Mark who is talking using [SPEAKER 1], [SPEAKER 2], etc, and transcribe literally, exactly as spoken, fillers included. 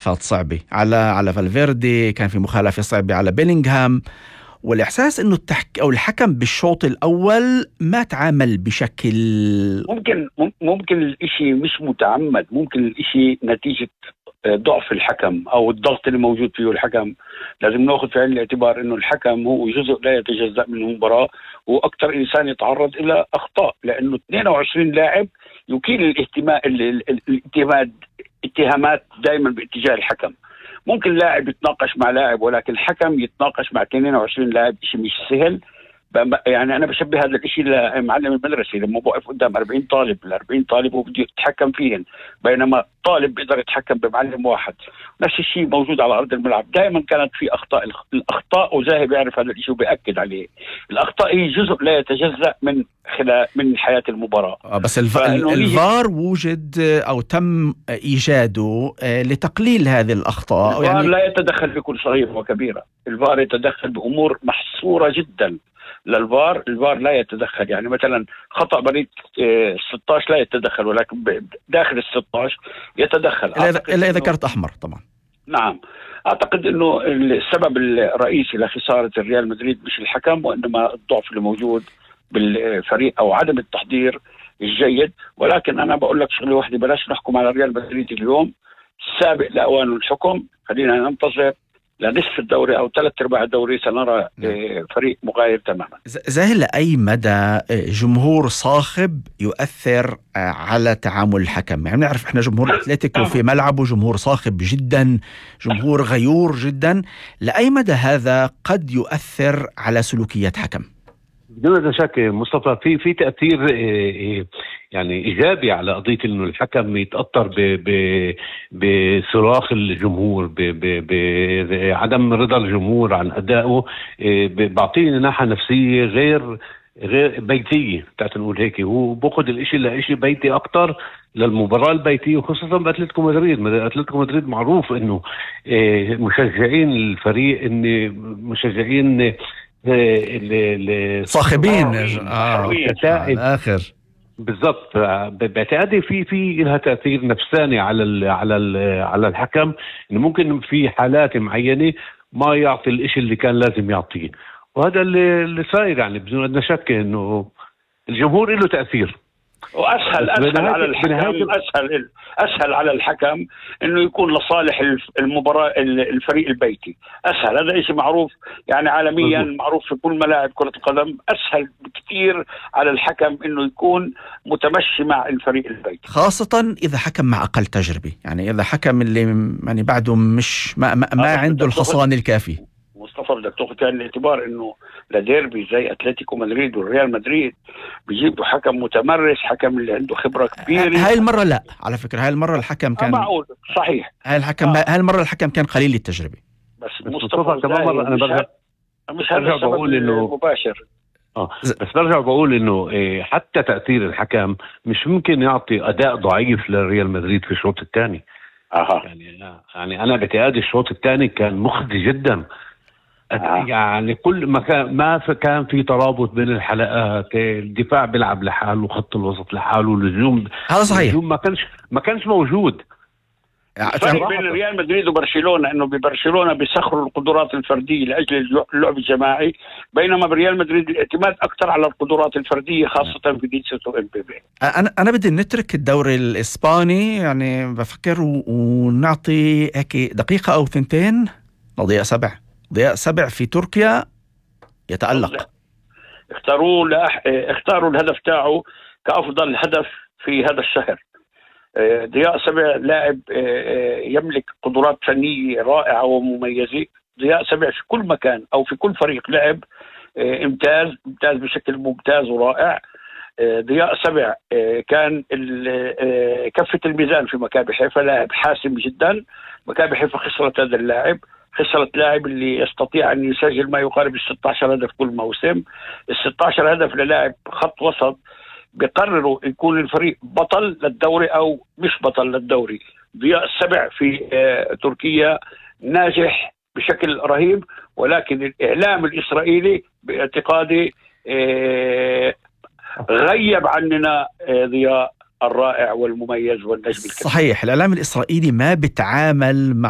[SPEAKER 1] صعبة على على فالفيردي، كان في مخالفة صعبة على بيلينغهام، والإحساس إنه التحك أو الحكم بالشوط الأول ما تعامل بشكل
[SPEAKER 2] ممكن ممكن الإشي مش متعمد، ممكن الإشي نتيجة ضعف الحكم أو الضغط اللي موجود فيه الحكم. لازم نأخذ في عين الاعتبار إنه الحكم هو جزء لا يتجزأ من المباراة، هو أكثر إنسان يتعرض إلى أخطاء، لأنه اثنين وعشرين لاعب يكيل الاهتمام الاتهامات اتهامات دائما باتجاه الحكم. ممكن لاعب يتناقش مع لاعب، ولكن الحكم يتناقش مع اثنين وعشرين لاعب شيء مش سهل. يعني أنا بشبه هذا الشيء لمعلم المدرسة لما بوقف قدام أربعين طالب، الأربعين طالب وبده يتحكم فيهم، بينما طالب بيقدر يتحكم بمعلم واحد. نفس الشيء موجود على أرض الملعب. دائما كانت في أخطاء، الأخطاء وزاهي بيعرف هذا الشيء وبيأكد عليه. الأخطاء هي جزء لا يتجزأ من خلال من حياة المباراة.
[SPEAKER 1] بس الف... الفار وجد أو تم إيجاده لتقليل هذه الأخطاء.
[SPEAKER 2] الفار يعني لا يتدخل في كل صغيرة وكبيرة، الفار يتدخل بأمور محصورة جدا. للفار الفار لا يتدخل، يعني مثلا خطأ بريد ستة عشر لا يتدخل، ولكن داخل ال ستة عشر يتدخل
[SPEAKER 1] إلا إذا كرت أحمر طبعا.
[SPEAKER 2] نعم، أعتقد أنه السبب الرئيسي لخسارة الريال مدريد مش الحكم، وإنما الضعف اللي موجود بالفريق أو عدم التحضير الجيد. ولكن أنا بقول لك شغلة واحدة، بلاش نحكم على الريال مدريد اليوم، سابق لأوان الحكم. خلينا ننتظر لنصف الدوري أو ثلاث أرباع الدوري سنرى فريق مغاير تماما.
[SPEAKER 1] زاهر، لأي مدى جمهور صاخب يؤثر على تعامل الحكم؟ يعني نعرف إحنا جمهور أتلتيكو في ملعبه جمهور صاخب جدا، جمهور غيور جدا. لأي مدى هذا قد يؤثر على سلوكيات حكم؟
[SPEAKER 3] بدون شك مصطفى في في تأثير يعني إيجابي على قضية إنه الحكم يتأثر بصراخ الجمهور، بعدم رضا الجمهور عن أدائه، بعطيه ناحية نفسية غير غير بيتية بتاعت نقول هيك. هو بأخذ الإشي لإشي بيتي أكتر للمباراة البيتية، وخصوصا بأتلتيكو مدريد. أتلتيكو مدريد معروف إنه مشجعين الفريق إن مشجعين
[SPEAKER 1] صاخبين اه اخر
[SPEAKER 3] بالضبط. باعتقادي في في لها تاثير نفساني على ال على ال على الحكم، انه ممكن في حالات معينه ما يعطي الاشي اللي كان لازم يعطيه، وهذا اللي اللي صاير. يعني بدون ادنى شك انه الجمهور له تاثير.
[SPEAKER 2] واسهل اسهل على الحكم اسهل اسهل على الحكم انه يكون لصالح المباراه الفريق البيتي. اسهل، هذا شيء معروف يعني عالميا، معروف في كل ملاعب كره القدم. اسهل بكثير على الحكم انه يكون متمشي مع الفريق البيتي،
[SPEAKER 1] خاصه اذا حكم مع اقل تجربه. يعني اذا حكم اللي يعني بعده مش ما, ما, ما عنده الحصان الكافي.
[SPEAKER 2] مصطفى بدك تاخذ في الاعتبار انه لديربي زي اتلتيكو مدريد والريال مدريد بيجيبوا حكم متمرس، حكم اللي عنده خبره كبيره.
[SPEAKER 1] هاي المره لا، على فكره هاي المره الحكم كان
[SPEAKER 2] معقول صحيح.
[SPEAKER 1] هاي الحكم آه. هاي المره الحكم كان قليل التجربه.
[SPEAKER 2] بس مصطفى كمان مره انا برجع مش هذا بقول انه مباشر
[SPEAKER 3] اه بس برجع بقول انه إيه حتى تاثير الحكم مش ممكن يعطي اداء ضعيف للريال مدريد في الشوط الثاني.
[SPEAKER 2] اها
[SPEAKER 3] يعني يعني انا باعتقادي الشوط الثاني كان مخزي جدا. آه. يعني كل ما كان ما كان في ترابط بين الحلقات، الدفاع بيلعب لحاله وخط الوسط لحاله والهجوم
[SPEAKER 1] هذا صحيح
[SPEAKER 3] الهجوم ما كانش ما كانش موجود.
[SPEAKER 2] الفرق بين ريال مدريد وبرشلونة انه ببرشلونة بيسخروا القدرات الفردية لاجل اللعب الجماعي، بينما بريال مدريد الاعتماد اكثر على القدرات الفردية خاصة في فينيسيوس وإمبابي.
[SPEAKER 1] انا انا بدي نترك الدوري الاسباني، يعني بفكر ونعطي هيك دقيقة او ثنتين لضياء سبع. ضياء سبع في تركيا يتألق.
[SPEAKER 2] اختاروا لأح... اختاروا الهدف تاعه كأفضل هدف في هذا الشهر. ضياء سبع لاعب يملك قدرات فنية رائعة ومميزة. ضياء سبع في كل مكان أو في كل فريق لعب امتاز امتاز بشكل ممتاز ورائع. ضياء سبع كان كفة الميزان في مكابي حيفا، لاعب حاسم جدا. مكابي حيفا خسرت هذا اللاعب، خسرت لاعب اللي يستطيع أن يسجل ما يقارب الستة عشر هدف كل موسم. الستة عشر هدف للاعب خط وسط بيقرروا يكون الفريق بطل للدوري أو مش بطل للدوري. ضياء السبع في آه تركيا ناجح بشكل رهيب، ولكن الإعلام الإسرائيلي باعتقادي آه غيب عننا آه ضياء الرائع والمميز والنجم الكبير.
[SPEAKER 1] صحيح، الإعلام الإسرائيلي ما بتعامل مع